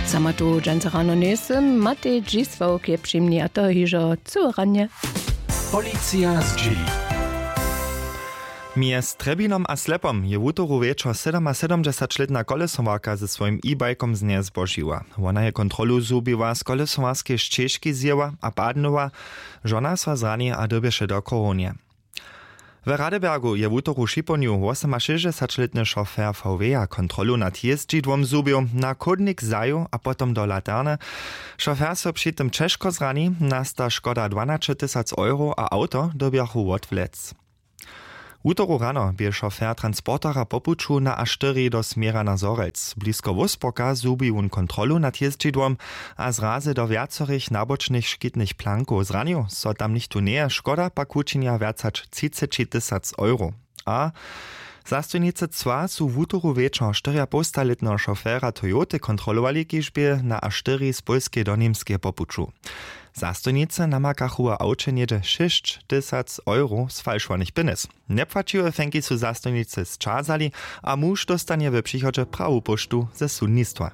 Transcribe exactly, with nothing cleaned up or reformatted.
Sama tu dźensa rano njejsym, Matej Dźisławk je při mni a to hižo cyłe ranje. Policija zdźěli. Mjez Trjebinom a Slepom je wutoru wječor sydomasydomdźesaćlětna kolesowarka ze swojim e-bajkom znjezbožiła. Wona je kontrolu zhubiła, z kolesowarskej šćežki zjěła a padnyła. Žona so zrani a dyrbješe do chorownje. W Radebergu je wutoru šipołnju wosomašěsćdźesaćlětny šofer V W-a kontrolu nad jězdźidłom zhubił, na chódnik zajěł a potom do laterny. Šofer so při tym ćežko zrani, nasta škoda dwanaće tysac euro a awto dyrbjachu wotwlec. Wutoru rano bě šofer transportera po puću na A štyri do směra na Zhorjelc. Blisko Wolfsburga zhubi wón kontrolu nad jězdźidłom a zrazy do wjacorych nabočnych škitnych plankow. Zranił so tam nichtó njeje, škoda pak wučinja wjac hač třiceći tysac euro. A zastojnicy cła su wutoru wječor štyrjapołstalětneho šofera Toyoty kontrolowali, kiž bě na A štyri z Pólskeje do Němskeje po puću. Zastojnicy namakachu w awće něhdźe šěsć tysac euro z falšowanych pjenjez. Njepłaćiłe fenki su zastojnicy sćazali a muž dóstanje w přichodźe prawu póštu ze sudnistwa.